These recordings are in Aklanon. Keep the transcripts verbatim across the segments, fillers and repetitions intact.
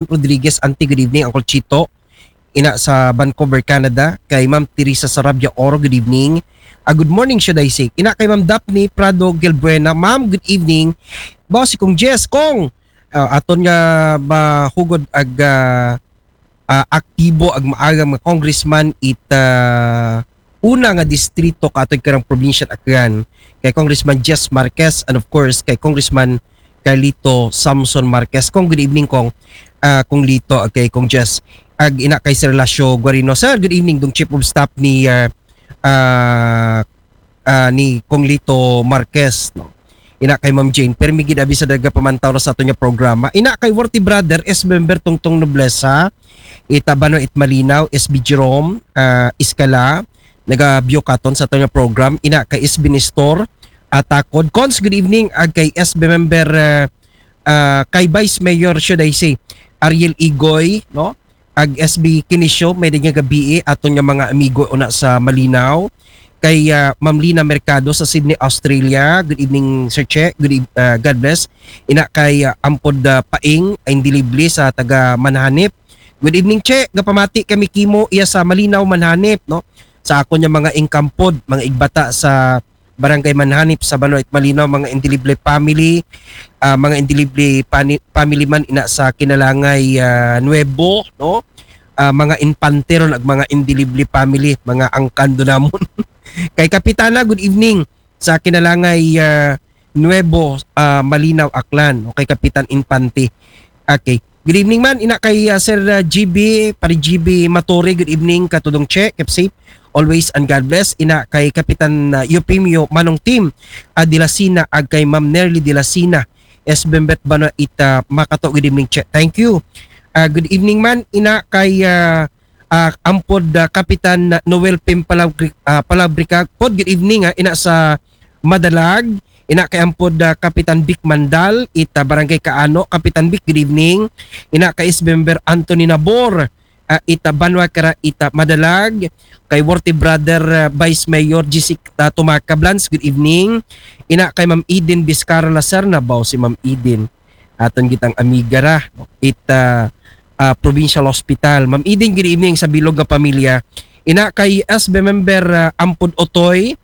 Rodriguez, Auntie, good evening. Uncle Chito, ina sa Vancouver, Canada. Kay Ma'am Teresa Sarabia Oro, good evening. Ah, good morning, should I say. Ina kay Ma'am Daphne Prado Gilbuena, Ma'am, good evening. Boss, si Kong Jess, Kong, ah, aton nga mahugod ag ah, ah, aktibo ag maagang mga congressman it ah, una nga distrito kaatod karang probinsya Aklan, kay Congressman Jess Marquez, and of course kay Congressman Carlito Samson Marquez. Kong, good evening, Kong. Ah, Kong Lito, okay, Kong Jess. Ag ina kay Sir Lasio Guarino. Sir, good evening, dong chief of staff ni ah, ah, ah, ni Kong Lito Marquez, no? Ina kay Ma'am Jane, permi gid abi sa daga pamantaw ra sa ato nga programa. Ina kay Worthy Brother, S member Tongtong Noblesa, ita Bano it Malinaw, S B Jerome, ah, Iskala, nagabyo katon sa ato nga program. Ina kay S B Nestor, Atakod. Cons, good evening, ag kay S B member, ah, ah, kay Vice Mayor, should I say, Ariel Igoy, no? Ag S B Kinisyo, may nga gabii, aton nga mga amigo una sa Malinaw. Kay ah, Ma'am Lina Mercado sa Sydney, Australia. Good evening, Sir Che. Good eve- ah, God bless. Ina kay ah, Ampod ah, Paing, ay Dilibli sa taga Manhanip. Good evening, Che. Gapamati kami kimo iya sa Malinaw, Manhanip, no? Sa ako niya mga ingkampod, mga igbata sa Barangay Manhanip sa Banwa it Malinaw, mga Indilible family, ah, mga Indilible pani- family man ina sa Kinalangay ah, Nuevo, no? Ah, mga Infante ron ag mga Indilible family, mga angkan do namon. Kay Kapitana, good evening sa Kinalangay ah, Nuevo, ah, Malinaw, Aklan. Okay, Kapitan Infante. Okay. Good evening man, ina kay ah, Sir ah, G B, pare G B Matore, good evening, katudong Che, keep safe always and God bless. Ina kay Kapitan ah, Eufemio Manong Tim ah, Dilasina, ag kay Ma'am Nerly Dilasina, S Bembet Bana ita Makato, good evening, Che. Thank you. Ah, good evening man, ina kay ah, ah, Ampod ah, Kapitan Noel Pim Palabri- ah, Palabrica. Pod, good evening, ah, ina sa Madalag. Ina kay Ampod ah, Kapitan Vic Mandal, ita Barangay Kaano. Kapitan Vic, good evening. Ina kay S Member Anthony Nabor, ah, ita Banwa Kara, ita Madalag. Kay Worthy Brother ah, Vice Mayor Jessica Tumaca Blans, good evening. Ina kay Ma'am Eden Vizcarra Lacerna, baw si Ma'am Eden. Aton gitang amiga ra, ita ah, Provincial Hospital. Ma'am Eden, good evening sa bilog nga pamilya. Ina kay S B member ah, Ampod Otoy,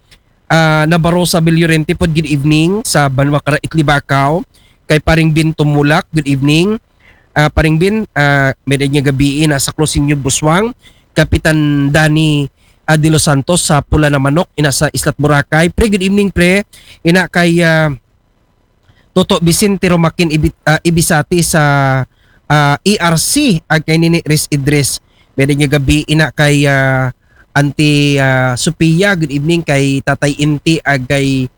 ah, Nabarosa Villorente pod, good evening sa Banwa Kara Itlibakaw. Kay Paring Bin Tumulak, good evening. Ah, Paring Bin, ah, may nga gabii na sa Closinyo Buswang, Kapitan Dani ah, de los Santos sa Pula na Manok, ina sa Islat Boracay. Pre, good evening, pre. Ina kay ah, Toto Vicente Romakin Ibi- ah, Ibisati sa ah, E R C, ag kay Nini Ris Idris. May nga gabii, ina kay ah, Auntie ah, Sophia, good evening kay Tatay Inti, ag kay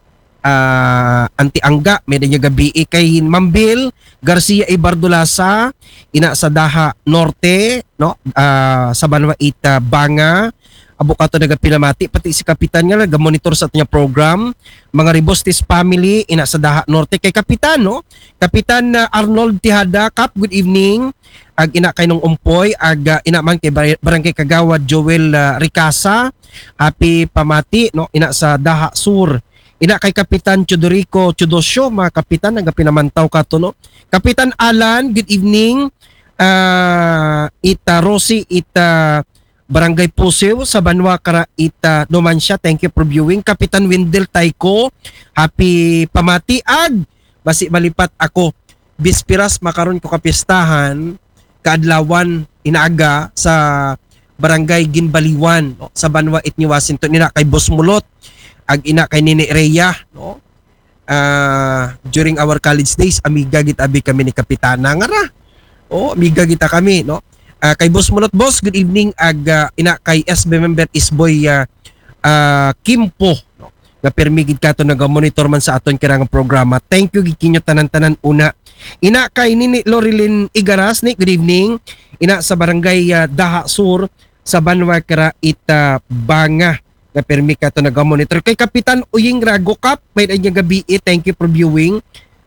ah, Auntie Angga, may nga gabii, kay Mambil Garcia Ibardulasa, ina sa Daha Norte, no? Ah, sa Banwa ita Banga, abo kato nagapinamati, pati si Kapitan nga nagamonitor sa ato nga program. Mga Ribostes family, ina sa Daha Norte, kay Kapitan, no? Kapitan ah, Arnold Tihada, Kap, good evening. Ag ina kay Nong Umpoy, ag ah, ina man kay Bar- Barangay Kagawad Joel ah, Ricasa, happy pamati, no? Ina sa Daha Sur. Ina kay Kapitan Chudorico Chudosyo, mga kapitan, nagapinamantaw kato, no? Kapitan Alan, good evening. Ah, ita Rosie, ita Barangay Pusiw sa Banwa Kara, ita Numancia. Thank you for viewing. Kapitan Wendell Taiko, happy pamati. Ag basi malipat ako, bispiras makaron ko kapistahan, kaadlawan, inaga sa Barangay Ginbaliwan, no? Sa Banwa it ni Washington, ina kay Boss Mulot, ag ina kay Nini Rhea, no? Ah, during our college days, amiga gid abi kami ni Kapitana nga ra. Oh, amiga kita kami, no? Ah, kay Boss Mulot, boss, good evening, ag ah, ina kay S B member Isboy ah, ah, Kimpo, no? Nga permi gid kato naga-monitor man sa aton kirang programa. Thank you gid kinyo tanan-tanan una. Ina kay Nini Lorilyn Igaras, ni, good evening. Ina sa Barangay ah, Daha Sur sa Banwa Kara ita Banga, nga permi kato naga-monitor. Kay Kapitan Uying Rago, Kap, may nga gabii, thank you for viewing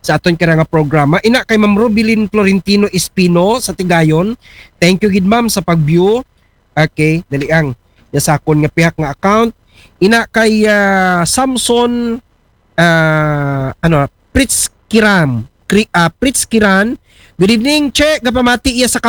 sa aton kira nga programa. Ina kay Ma'am Rubilin Florentino Espino sa Tigayon. Thank you gid, ma'am, sa pag-view. Okay, dali ang ya sa akon nga pihak nga account. Ina kay ah, Samson ah, ano, Pritz Kiram, Kri, ah, Pritz Kiran, Good evening, Che. Gapamati iya sa